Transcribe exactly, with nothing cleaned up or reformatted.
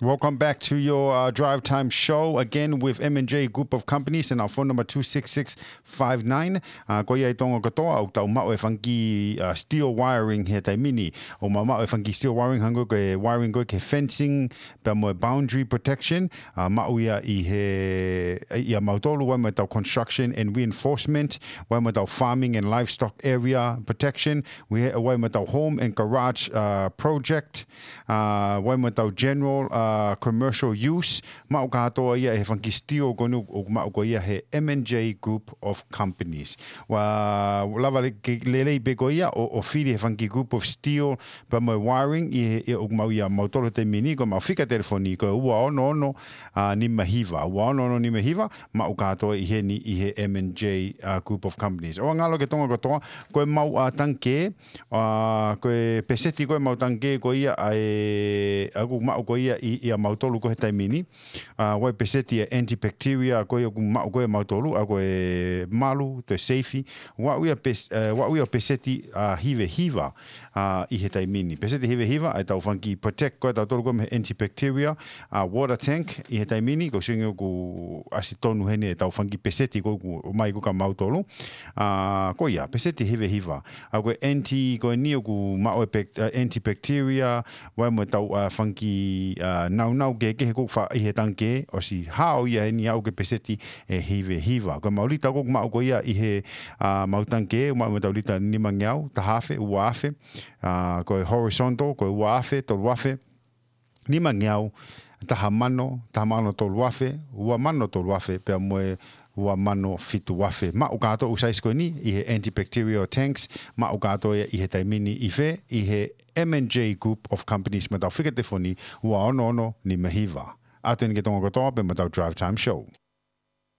Welcome back to your uh, Drive Time Show again with M and J Group of Companies and our phone number two six six five nine. Uh, ko ia ʻi Tonga kotoa, ʻoku tau maʻu e fanga kiʻi uh, steel wiring he taimi ni. ʻOku mau maʻu e fanga kiʻi steel wiring hangē ko e wiring ko ē ki he fencing, pea mo e boundary protection. Uh, maʻu ia ʻi he, ʻia mautolu, ʻoku ʻi ai mo ʻetau construction and reinforcement, ʻoku ʻi ai mo ʻetau farming and livestock area protection, ʻoku ʻi ai mo ʻetau home and garage uh, project, uh, ʻoku ʻi ai mo ʻetau general uh, commercial use, maʻu kātoa ia he fanga kiʻi steel ko eni ʻoku maʻu ko ia he M and J Group of Companies. ʻOku lava le-, ke lelei pē ko ia ʻo, ʻo fili he fanga kiʻi group of steel pea mo e wiring ʻi he, ʻi he ʻoku maʻu ʻia mautolu he taimi ni, ko ʻemau fika telefoni ko e ua ono ono uh, nima hiva, ua ono ono nima hiva, maʻu kātoa ʻi heni ʻi he M and J uh, Group of Companies. ʻOua ngalo ki Tonga kotoa, ko ʻemau uh, tangikē, uh, ko e peseti ko ē ʻemau tangikē ko ia ʻa e, ʻoku maʻu ko ia ʻi, ʻia mautolu ko ē he taimi ni. Uh, ʻoku ʻi ai peseti ʻa e antibacteria ko ia ʻoku maʻu ko ē ʻia mautolu, ʻa ko e malu, toe seifi. ʻOku ʻi ai pes-, uh, ʻoku ʻi ai peseti uh, hiva hiva uh, ʻi he taimi ni. Peseti hiva hiva, ʻa ʻetau fanga kiʻi protect ko ē ʻa tautolu ko ē mei he antibacteria, uh, water tank ʻi he taimi ni, ko e sio ange ʻoku ʻasi tonu heni ʻetau fanga kiʻi peseti ko ē ʻoku ʻomai ko ē kia mautolu. Uh, ko ia, peseti hiva hiva. ʻA ko e anti, ko eni ʻoku maʻu e bac-, uh, antibacteria, ʻoku ʻi ai mo ʻetau uh, fanga kiʻi uh, naunau kehekehe ʻoku faʻa ʻi he tangikē, ʻosi hao ia heni ʻa e peseti ʻe hiva hiva. Ko ʻemau lita ʻoku maʻu ko ia ʻi he uh, ʻemau tangikē, ʻoku maʻu mo ʻetau lita nimangeau, taha afe, ua afe, uh, ko e horizontal, ko e ua afe, tolu afe, nimangeau, taha mano, taha mano tolu afe, ua mano tolu afe, pea mo e ua mano fitu afe. Maʻu kātoa e size ko eni ʻi he antibacterial tanks, maʻu kātoa ia ʻi he taimi ni ʻi fē, ʻi he M and J Group of Companies, mo ʻetau fika telefoni ua ono ono nima hiva. ʻOatu eni ki Tonga kotoa pea mo ʻetau Drive Time Show.